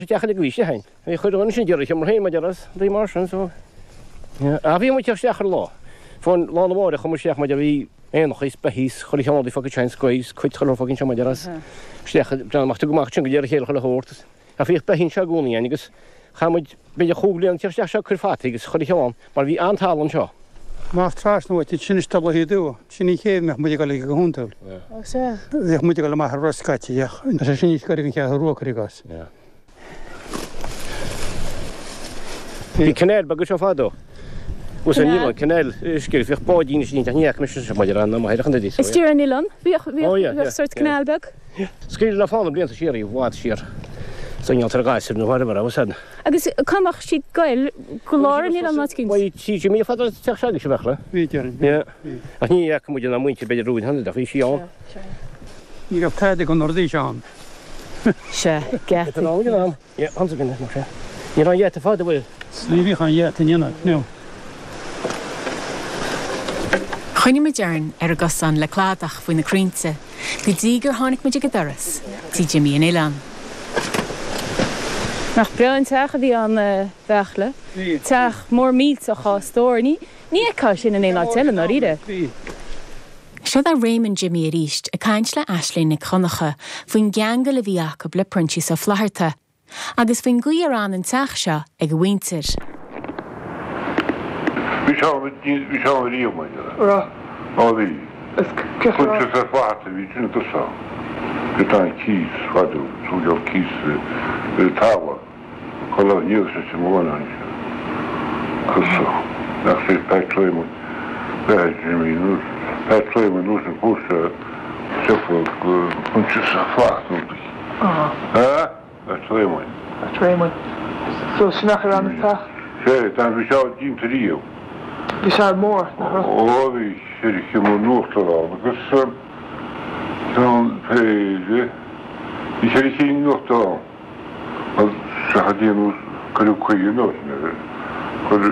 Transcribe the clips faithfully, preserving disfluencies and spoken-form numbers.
Teach le gaois féin. Bhí chuid an sin deireadh mar féin mar as dí mar sin so. A bhí mu isteach ar lá. Fón lá na mháire chum isteach mar bhí aonach is beithígh chuile cheann fá chain scois cuid chuile fucking seo mar as. Isteach amach go amach sin go deireadh chéile chuile shórt. A bhíodh beithígh anseo i gcónaí againn agus chaith muid b'fhéidir chúig bliana isteach seo cur fataí agus chuile cheann mar bhí an-talamh anseo. Más trasna uait sin is dul thú, sin ní chéad mbeadh muid ag dul go hiondúil. Ó sea. Bheadh muid ag dul amach ar rosc scaití ach tá sé sin níos gaire don Cheathrú Rua cuir i gcás. Bhí canal beag anseo fadó. Bhí an oileán, canal uisce, bhíodh báidín istigh ach ní fhaca mise seo maidir an máthair an duine. Istigh ar an oileán, bhíodh bhíodh sórt canal beag. Scaoileadh le fána blianta siar í, i bhfad siar. Sa ngeall ar ghasúir nó whatever, I was sad. Agus cá mbeadh siad ag goil go lár an oileáin nó áit éicint? Bhuel, tí Jimmy fada an teach seo bheadh le. Bhí, déarfainn. Yeah. Ach ní fhaca muid ná muintir b'fhéidir romhainn cheana, ach bhí sí ann. Ní raibh tada den rudaí seo ann. Sea, geataí. An an. Yeah, ann againn, mar sea. Ní raibh an gheata fada, bhfuil? Ní bhíodh an gheata in ionad, no. Choinnigh muid orainn ar an gcosán le cladach faoi na crainnte go dtí gur tháinig muid ag an doras tí Jimmy an Oileáin. Nach breá an teach a bhí ann a Bheartla. Teach mór millteach dhá stór. Ní ní fheicfeá sin in aon áit eile, ndáiríre. Seo é Réamonn Jimmy arís ag caint le Aisling Nic Dhonncha faoin gceangal a bhí acu le Proinsias Ó Flatharta agus faoin gcaoi ar fhan an teach seo ag a mhuintir. Bhí sé ann, bhí sé ann riamh, mar dhea. Raibh. Á bhí. Is cé chomh. Proinsias Ó Flatharta a bhí sin i dtosach ann. Bhí tá an cíos fadó, tugadh cíos ar an talamh. Chuile ní raibh sé sin amháin ann sin. Tosach. Nach sé Pat Réamonn, Beatha Jimmy nó Pat Réamonn nó sin fuair sé siopa go Proinsias Ó Flatharta. Á. Ha? Pat Réamoinn. Pat Réamoinn. So sin nach ar an teach? Sé, tá bhí sé déanta riamh. Bhí sé mór, nach raibh? Ó, bhí ceithre sheomra in uachtar ann agus ceann péire, bhí ceithre cinn in uachtar ann. Agus seachas déanamh, cuireadh caoi an uair sin air, chuir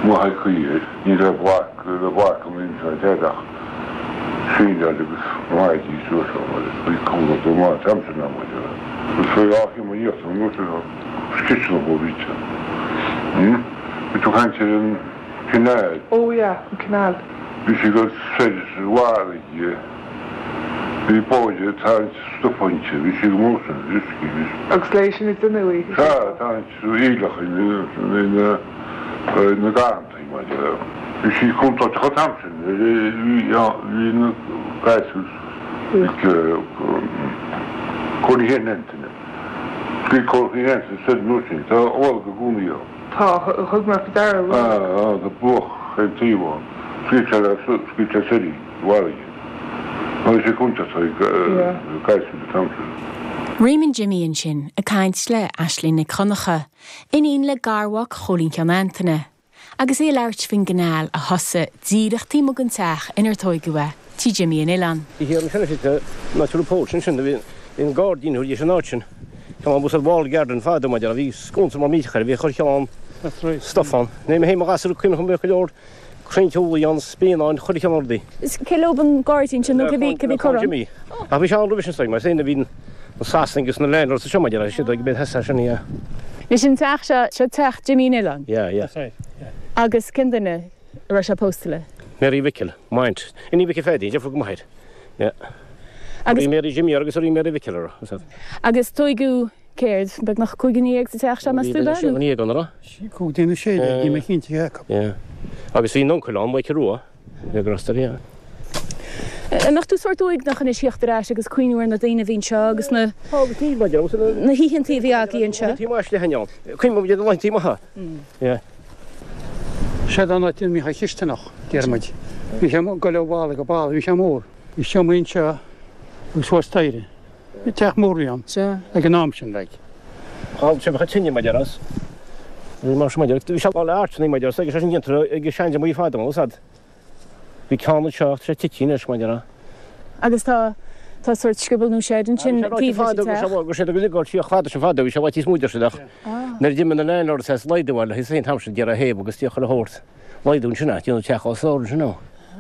m'athair caoi air, ní raibh bloc, raibh bloc an aon seo ach síneáil agus maidí suas ann agus bhí cúlra go maith an t-am sin ann maidir le. Agus bhí dhá sheomra in íochtar an uair sin sciseanna a bhí te. Bhí tú ag caint ar an canal. Oh yeah, an canal. Bhí sé go soir sa bhfarraige. Bhí báid ag tarraingt stuif inti, bhí sí go mór sin, uisce, bhí. Agus léi sin ag déanamh í. Sea, ag tarraingt aoileach ina na garrantaí, mar dhea. Bhí sí contúirteach an t-am sin, bhí na gasúir ag Cóilín Sheáin Antaine. Bhí Cóilín Antaine soir an uair sin, tá lorg i gcónaí ann. Tá, thug mé faoi deara lorg. Á, tá bruach ar an taobh ann. Scaoil sé le, scaoil sé soir í, i bhfarraige. Nó bhí sé contúirteach ag gasúir an t-am sin. Réamonn Jimmy ansin ag caint le Aisling Nic Dhonncha, iníon le garmhac Chóilín Sheáin Antaine, agus é ag labhairt faoin gcanáil a thosaigh díreach taobh amuigh den teach inar tóigeadh é, tí Jimmy an Oileáin. Bhí thiar ansin is ná tú póit ansin, bhí an gairdín thuas an áit sin. Ceann bus ar walled garden fadó mar a bhí sconsa mar mícheach air, bhí chuir cheann stuff ann. Ní mé féin mo ghasúr cuimhin liom go leor crainnte úllaí ann, spíonáin, chuile cheann rudaí. Is cé leob an gairdín sin nó cé bhí cé bhí curtha ann? Jimmy. Ach bhí sé ann roimhe sin is mar sin a bhí na Sasanaigh agus na landlords seo maidir leis siad ag bheith theas sin yeah. Anois an teach seo, seo teach Jimmy an Oileáin? Yeah, yeah. That's right, yeah. Agus cén duine a raibh sé pósta le? Mary Mhicil, m'aint. Iníon Mhicil Pheaidí, deirfiúr go m'athair. Yeah. Agus. Bhí Mary Jimmy agus bhí Mary Mhicil orthu, is ea. Agus tóigeadh céard, beagnach cúig dhuine dhéag sa teach seo, meas tú, Bhí sé dhuine dhéag ann, an raibh? Cúig déag nó sé déag, níl mé cinnte cé acu. Yeah. Agus bhí an uncail ann, Michael Rua, bhí ag Rosta, yeah. An mbeadh tú sórt uaigneach anois theacht ar ais agus cuimhniú ar na daoine a bhí anseo agus na Tá agus níl, maidir agus na. na hoícheantaí a bhí agaibh anseo? Laethantaí maith le hainneoin. Cuimhním ar na laethantaí maithe. Yeah. Seod an áit a mbíodh an chisteanach, deir muid. Bhí sé ag dul ó bhalla go balla, bhí sé mór. Bhí seomraí anseo agus thuas staighre. Bhí teach mór a bhí ann ag an am sin, like. Thall sé bheadh tine maidir as. Bhí mar sin maidir. Bhí sé lá le áiteanna maidir as agus sé sin déantar ag seandeamaí fada ó sad. Bhí ceann anseo ach tá sé tite anois maidir a. Agus tá tá sórt scioból nó seid ansin taobh leis an teach. Go raibh sé go ligeáil síoch fada sin fada bhí sé i bhfad níos mó deir siad ach nuair a d'imigh na landlords as laghdú air le híos an t-am sin d'iarraidh a thaobh agus d'fhéach chuile shórt laghdú ansin a déanamh teach os ard ansin ó.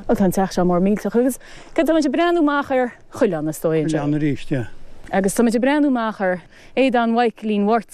Ó tá an teach seo mór millteach agus cad tá muid ag breathnú amach ar choileán is dóigh anseo. Coileán arís, yeah. Agus tá muid ag breathnú amach ar Aodán Mhaidhcilín Mháirtín.